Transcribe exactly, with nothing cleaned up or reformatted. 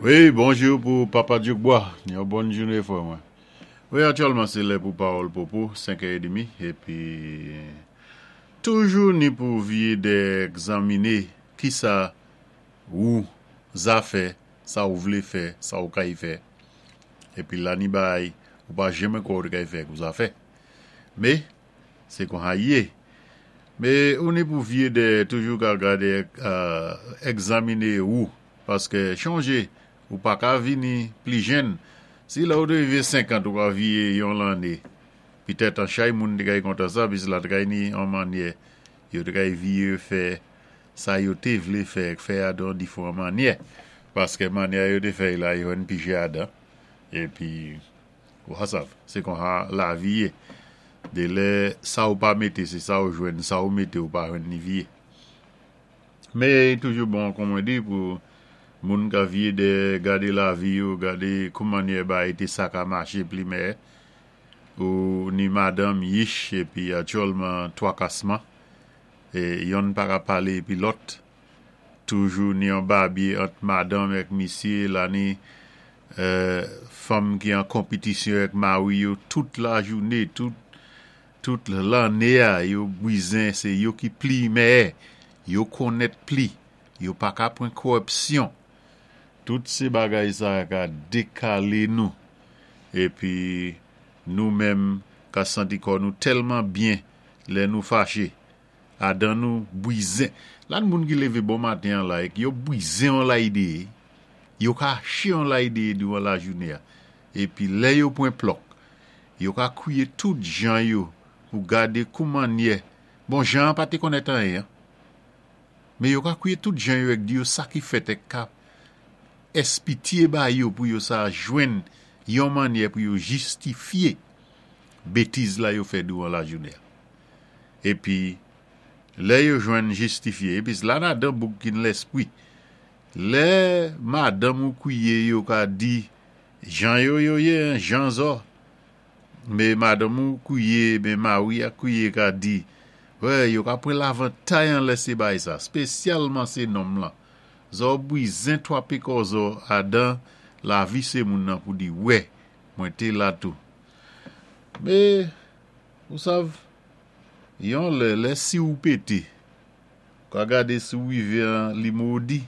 Wi, bonjou pou Papa Djoukbois. Yon bòn jouné fwè mwen. Wi, aktyèlman sé lè pou Pawòl Popo, senk è édmi, épi toujou ni pou viyé dè egzaminé ki sa ou za fè, sa ou vlé fè, sa ou kay fè. Épi la ni bay, ou pa janmen kwè ou té kay fè kou za fè. Mé, sé kon-sa i yé. Mé ou ni pou viyé dè toujou ka gadé egzaminé ou, paské chonjé, ou pa ka vini pli jenn. Si la ou té rivé senkant ou ka viyé yon lanné, pitèt an chay moun té kay kontan sa, pis la té kay ni an mannyè, yo té kay viyé fè sa yo té vlé fè, fè adan diféwan mannyè. Paské mannyè yo té fè la, yo jwenn pi chè adan. Épi, ou ka sav, sé kon-sa lavi yé. Dé lè sa ou pa mété, sé sa ou jwenn, sa ou mété ou pa jwenn ni viyé. Mé toujou bon, kon mwen di, pou moun ka viyé dè gadé lavi yo, gadé kou mannyè bagay té sa ka maché pli mèyè. Ou ni madanm yich, épi aktyèlman twakasman, é yonn pa ka palé épi lòt. Toujou ni yon babyé ant madanm èk misyé, la ni fanm ki an konpitisyon èk mari yo tout lajouné, tout tout lanné a, yo bwizen, sé yo ki pli mèyè, yo konnèt pli, yo pa ka pran kòwipsyon. Tout sé bagay sa ka dékalé nou. Épi nou menm ka santi kò nou tèlman byen lè nou faché. Adan nou bwizen. La ni moun ki lévé bon maten an la, yo bwizen an la idé, yo kaché an la idé douvan lajouné a. Épi lè yo pran plòk, yo ka kwiyé tout jan yo pou gadé kou mannyè. Bon, jan pa té konnèt anyen. Mé yo ka kwiyé tout jan yo èk di yo sa ki fèt èk ka èspitié ba yo pou yo sa jwenn yon mannyè pou yo jistifyé bétiz la yo fè douvan lajouné a. Épi, lè yo jwenn jistifyé, épi la ladan bouk ki lèspwi. Lè madanm ou kwiyé yo ka di, jan yo yo yé, jan zò. Mé madanm ou kwiyé, mé mari a kwiyé ka di, wè, yo ka pran lavantay an lè sé bay sa, spésyalman sé nonm lan. Zò bwizen twapé kò zò adan lavi sé moun nan pou di, wè, mwen té la tou. Mé, ou sav, yon lè, lè si ou pété, ka gadé si ou rivé an li modi.